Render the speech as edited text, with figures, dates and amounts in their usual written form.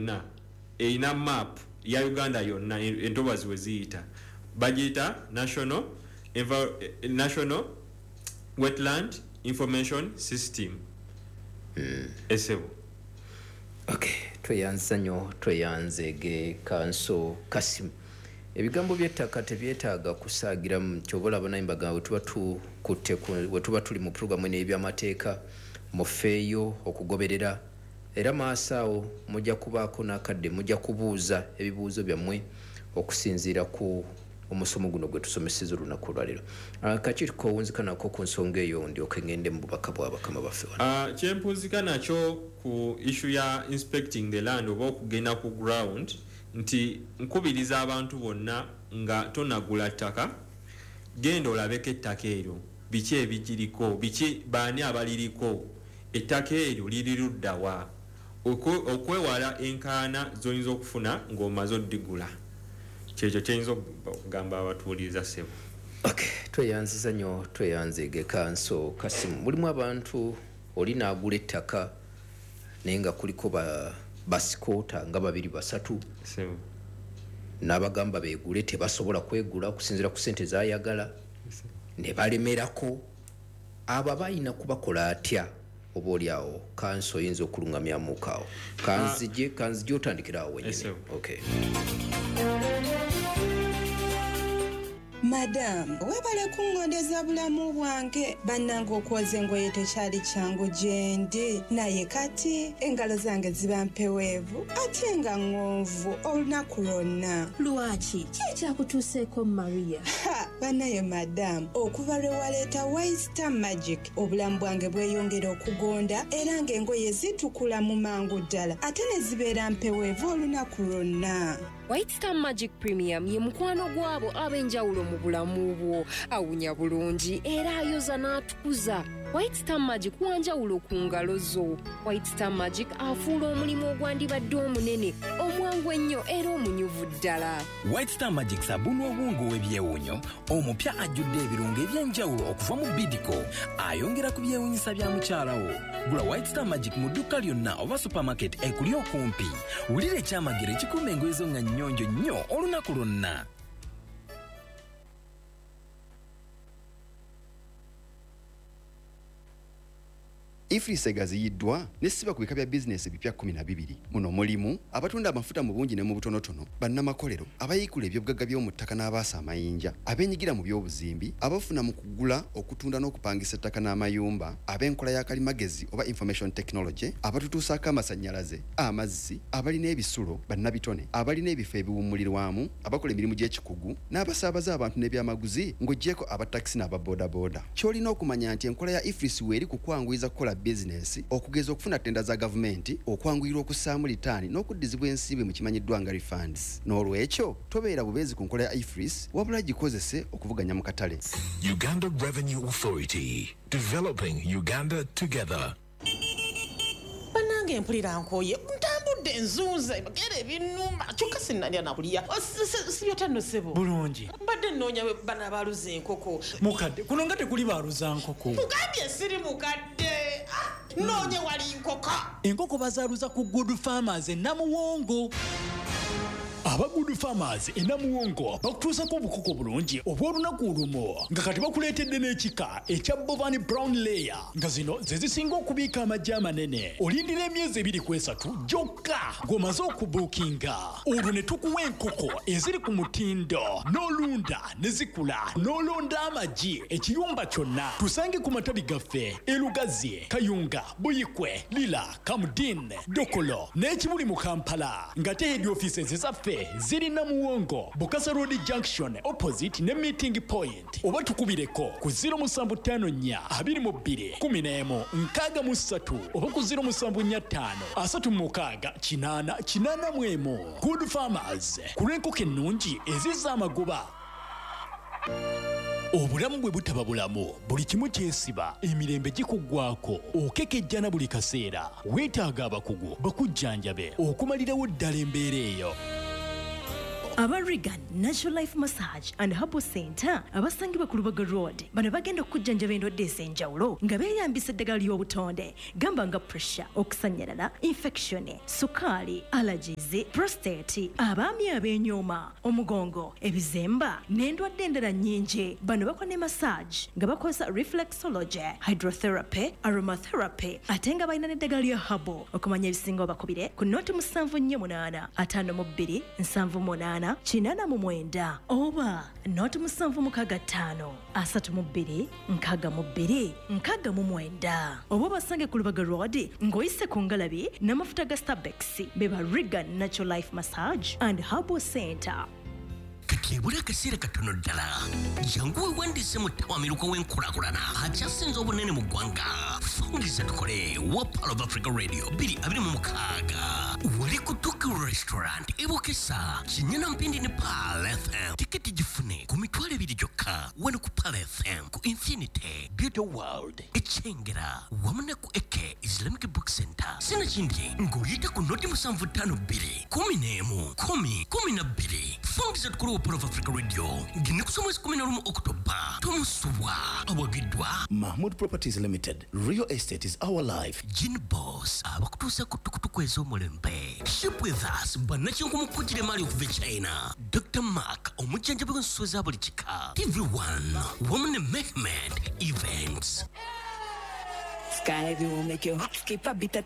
Yonna erina map ya Uganda yonna, entobazi we ziyita, bagiyita National Wetland Information System, esebo. Okay, tweyanza nnyo, tweyanzege Kanso Kasimu. Ebigambo by'ettaka tebyetaaga kusaagiramu. Kyoba olaba naye mbagamba we tuba tukutte we tuba tuli mu puroguramu eno ey'ebyamateeka, mufeeyo okugoberera, era maaso awo mujja kubaako n'akadde mujja kubuuza ebibuuzo byammwe okusinziira ku omusomo guno gwe tusomeseza olunaku olwaleero. Kakiiko owunzika nako ku nsonga eyo, ndyoke ngende mu bubaka bwa bakama baffe wano. Kyempunzika nakyo ku issue ya inspecting the land oba okugenda ku ground, nti nkubiriza abantu bonna nga tonagula ttaka, genda olabeko ettaka eryo, biki ebigiriko, biki, baani abaliriko, ettaka eryo liri luddawa, okwewala enkaana z'oyinza okufuna ng'omaze oddigula. Kyekyo kyeyinza okugamba abatuwuliriza, ssebo. Okay, tweyanziza nnyo, tweyanzege Kanso Kasimu. Mulimu abantu oli n'agula ettaka naye nga kuliko basikoota nga babiri basatu, Ssebo. n'abagamba beegule, tebasobola kwegula okusinziira ku ssente z'ayagala, ne balemerako. Abo abalina kubakola atya? Oba oli awo kanso oyinza okulungamyamuko awo? Kanzije otandikira awo wenyini. Ssebo. Okay. Madamu, webale kuŋŋondeza bulamu bwange. Bannange, okwoza engoye tekyali kyangu gye ndi, naye kati engalo zange ziba mpeweevu ate nga ŋŋonvu olunaku lwonna. Lwaki? Ki ekyakutuuseeko, Maria? Ha, bannaye madamu, okuva lwe waleeta White Star Magic, obulamu bwange bweyongera okugonda era ng'engoye zitukula mu mangu ddala ate ne zibeera mpeweevu olunaku lwonna. White Star Magic Premium ye mukwano gw'abo ab'enjawulo mu bulamu bwo. Awunya bulungi era ayoza n'atukuza. White Star Magic wanjawulo ku ngalo zo. White Star Magic afuula omulimu ogwandibadde omunene omwangu ennyo era omunyuvu ddala. White Star Magic sabbuuni ow'obuwunga ow'ebyewuunyo omupya ajjudde ebirungo eby'enjawulo okuva mu Bidco, ayongera ku byewuunyisa bya mukyala wo. Gula White Star Magic mu dduuka lyonna oba supermarket ekuli okumpi. Wulira ekyamagero ekikuuma engoye zo nga nnyonjo nnyo olunaku lwonna. EFRIS egaziyiddwa n'essiba ku bika bya bizinesi ebipya 12. Muno mulimu abatunda amafuta mu bungi ne mu butonotono, bannamakolero, abayiikula ebyobugagga by'omu ttaka n'abaasa amayinja, abeenyigira mu by'obuzimbi, abafuna mu kugula, okutunda n'okupangisa ettaka n'amayumba, ab'enkola ya kalimagezi oba information technology, abatutuusaako amasannyalaze, amazzi, abalina ebisulo, bannabitone, abalina ebifo ebiwummulirwamu, abakola emirimu gy'ekikugu n'abasaabaza abantu n'ebyamaguzi, ng'oggyeko aba takisi n'ababoodabooda. Ky'olina okumanya nti enkola ya EFRIS weeri ku kwanguyiza kukola bizinesi, okugeza okufuna ttenda za gavumenti, okwanguyirwa okussaamu litaani n'okuddizibwa ensimbi mu kimanyiddwa nga refunds. N'olwekyo tobeera bubeezi ku nkola ya EFRIS, wabula gikozese okuvuganya mu katale. Uganda Revenue Authority, developing Uganda together. Bannange, mpulira nkooye, ntambudde nzunze gera ebinuma, kyokka sinnalya nakulya. Sibyota nno, ssebo? Bulungi. Mbadde nnoonya bano abaaluza enkoko. Mukadde, kuno nga tekuli baaluza nkoko. Mugambye siri mukadde. Ah, noonye wali nkoko. Enkoko bazaaluza ku Good Farmers e Namuwongo. Aba Good Farmers e Namuwongo bakutuusako obukoko bulungi obw'olunaku olumu, nga kati bakuleetedde n'ekika ekya Bovan Brown Layer, nga zino ze zisinga okubiika amagi amanene. Olindira emyezi 2 ku 3 gyokka ng'omaze okubuukinga, olwo ne tukuwa enkoko eziri ku mutindo n'olunda ne zikula n'olonda amagi ekiyumba kyonna. Tusange ku matabi gaffe e Lugazi, Kayunga, Buyikwe, Lira, Kamdin, Dokolo n'Ekibuli mu Kampala, nga te head offices zaffe ziri Namuwongo, Bukasa Road Junction, opposite ne Meeting Point, oba tukubireko ku 0754 22 11 63 oba ku 0745 36 80 81. Good Farmers, ku lw'enkoko ennungi ezizza amagoba. Obulamu bwe butaba bulamu, buli kimu kyesiba, emirembe gikuggwako, okekejjana buli kaseera. Weetaaga abakugu bakujjanjabe okumalirawo ddala embeera eyo. Aba Regan Natural Life Massage and Herbal Center abasangibwa ku Lubaga Road, bano bagenda okujjanjaba endwadde ez'enjawulo nga beeyambisa eddagala ly'obutonde, gamba nga pressure, okusannyalala, infection, sukaali, allergies, prostate, abaami ab'enyooma, omugongo, ebizemba n'endwadde endala nnyingi. Bano bakola ne massage nga bakozesa reflexology, hydrotherapy, aromatherapy, ate nga balina n'eddagala lya herbal. Okumanya ebisinga obakubire ku 078 52 78 89 oba 0765 32 62 69, oba obasange ku Lubaga Road ng'oyise ku ngalabi n'amafuta ga Starbex. Beba Regan Natural Life Massage and Herbal Center. Kati ebula akaseera katono ddala, jangu weewandiise mu ttawamiruka w'enkulaakulana akyasinze obunene mu ggwanga, Fungiza Tukole wa Pearl of Africa Radio 2026, wali ku Tuki Restaurant ebukesa Kinyana Mpindi ne Pearl FM. Tiketi gifune ku 20,000 gyokka wano ku Pearl FM, ku Infinity Beauty World Ekyengera, wamu ne ku Eke Islamic Book Center. Sinakindi ng'oyita ku 0752 11 10 12. Fungiza Tukole wa Pearl of Africa Radio ng'ennaku z'omwezi 11 Okutoba. Tomusubwa. Awagiddwa Mahmood Properties Limited. Real estate is our life. Gin Boss abakutuusa ku tukutuku ez'omulembe. Ship with us bannakyenkumukkukira emaali okuva e China. Dr Mark omujjanjabi w'ensuwa eza buli kika, TV1 wamu ne Mehmed Events. Sky will make your heart skip a bit at